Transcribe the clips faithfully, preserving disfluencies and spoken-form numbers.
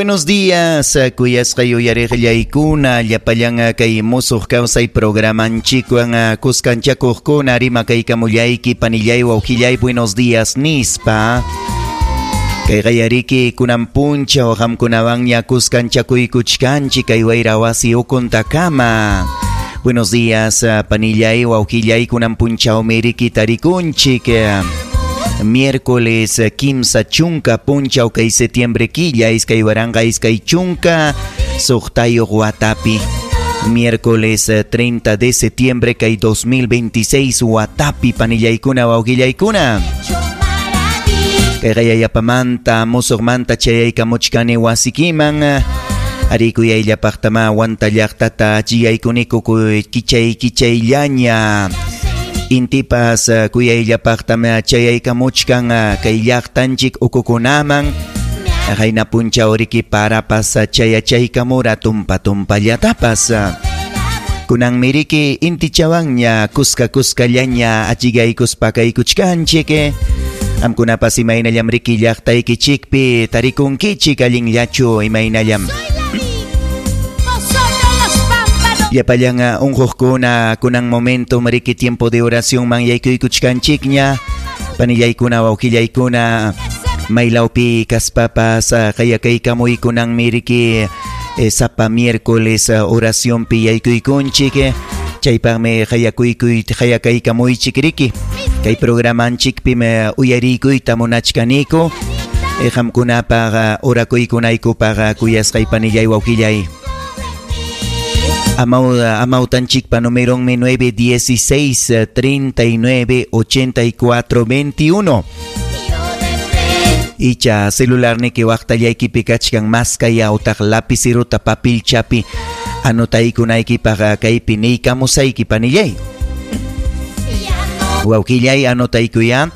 Buenos días, kuyasqay uyariqllaykuna, llapallan kay musuq kawsay programanchikwan kuskanchakuqkuna rimakaykamullayki panillay wawqillay buenos días nispa. Kay qayariki kunan punchaw qamkunawanña kuskanchakuykuchkanchik kay wayra wasi ukuntakama. Buenos días, panillay wawqillay kunan punchawmi riki tarikunchik. Miércoles kimsa chunka punchaw kay septiembre killa iskay waranqa iskay chunka suqtayuq watapi. Miércoles treinta de septiembre kay dos mil veintiséis watapi panillaykuna wawqillaykuna. Kay qayayapamanta musuqmanta chayaykamuchkani wasikiman. Arikuyayllapaqtama wanta llaqtata chiyaykuniku kichay kichayllaña. Intipas kuyayllapaqtama chayaykamuchkan kay llaqtanchik ukukunaman. Qayna punchaw riki parapas chayachaykamura tumpa tumpallatapas. Kunanmi riki intichawanña kuska kuskallaña achigaykuspa kaykuchkanchik. Amkunapas imaynallam riki llaqtaykichikpi tarikunkichik allinllachu imaynallam. Llapallan unquqkuna kunan momento riki tiempo de oración man yaykuykuchkanchikña. Panillaykuna wawqillaykuna maylawpi kaspapas qayakaykamuy kunanmi riki sapa miércoles oracionpi yaykuykunchik. Chaypaqmi qayakuykuy qayakaykamuychik riki. Kay programanchikpim uyariykuyta munachkaniku. Qamkunapaq orakuykunaykupaq kuyasqay panillay wawqillay. Amau, amautanchikpa numeronmi nueve dieciséis treinta y nueve ochenta y cuatro veintiuno. Icha celularniki waqtallaykipi kachkan maskaya utaq lapiciruta papilchapi anotaykunaykipaq kaypi niykamusayki panillay. Wawqillay anotaykuya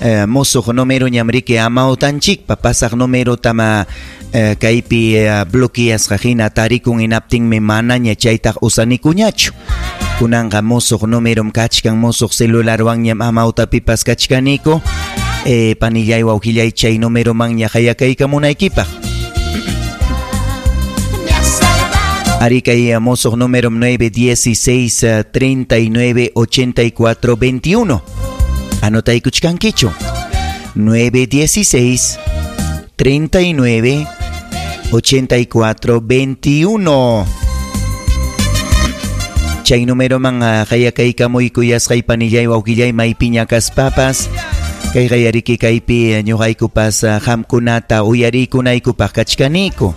eh, musuq número ñamriki amautanchikpa pasaq número tama eh, kaypi eh, bloqueasqa hina tarikun hinaptinmi manaña chaytaq usanikuñachu. Kunanqa musuq numerom kachkan musuq celularwanñam amautapipas kachkaniku. Eh, panillay wawqillay chay numeromanña qayakaykamunaykipaq. Ari kay musuq número nueve dieciséis treinta y nueve ochenta y cuatro veintiuno. Anotaykuchkankichu. nueve dieciséis treinta y nueve ochenta y cuatro veintiuno. Chay número man qayakaykamuy kuyasqay panillay wawqillay maypiña kaspapas. Kay qayariki kaypi ñuqaykupas qamkunata uyarikunaykupaq kachkaniku.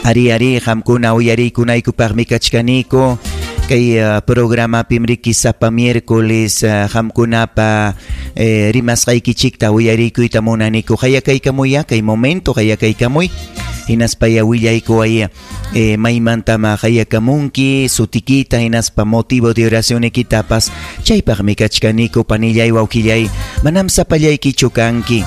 Ari ari qamkuna uyarikunaykupaqmi kachkaniku. Kay uh, programapim riki sapa miércoles qamkunapa uh, eh, rimasqaykichikta uyarikuyta munaniku. Qayakaykamuy kay momento qayakaykamuy. Hinaspaya willaykuway eh, maymantama qayakamunki sutikita hinaspa motivo de oracionikitapas. Chaypaqmi kachkaniku panillay wawqillay. Manam sapallaykichu kanki.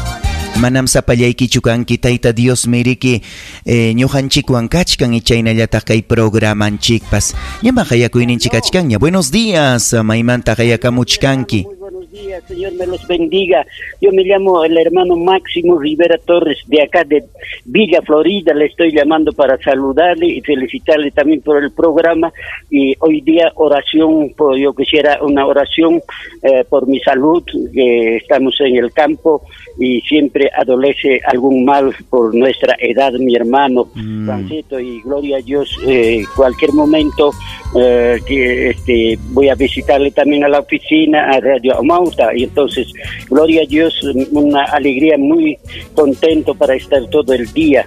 Manam sapallaykichu kanki Tayta Dios miriki eh, ñuqanchikwan kachkan ichaynallataq kay programanchikpas. Ñama qayakuyninchik kachkanña. Buenos días, maymanta qayakamuchkanki. Muy buenos días, Señor me los bendiga. Yo me llamo el hermano Máximo Rivera Torres de acá de Villa Florida. Le estoy llamando para saludarle y felicitarle también por el programa. Y hoy día oración, por, yo quisiera una oración eh, por mi salud, que estamos en el campo y siempre adolece algún mal por nuestra edad, mi hermano mm. Francito, y gloria a Dios, eh, cualquier momento eh, que este, voy a visitarle también a la oficina, a Radio Amauta, y entonces, gloria a Dios, una alegría, muy contento para estar todo el día.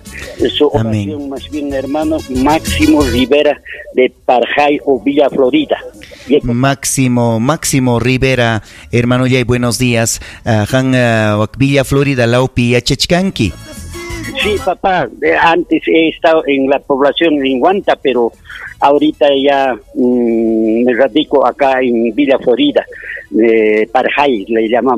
Su oración. Amén. Más bien, hermano Máximo Rivera de Parjay o Villa Florida. Máximo, Máximo Rivera, hermano Yay, buenos días. Uh, Han, uh, Villa Florida, Laupi, Yachechkanki. Sí, papá, antes he estado en la población en Huanta, pero ahorita ya mmm, me radico acá en Villa Florida, de Parjay le llamamos.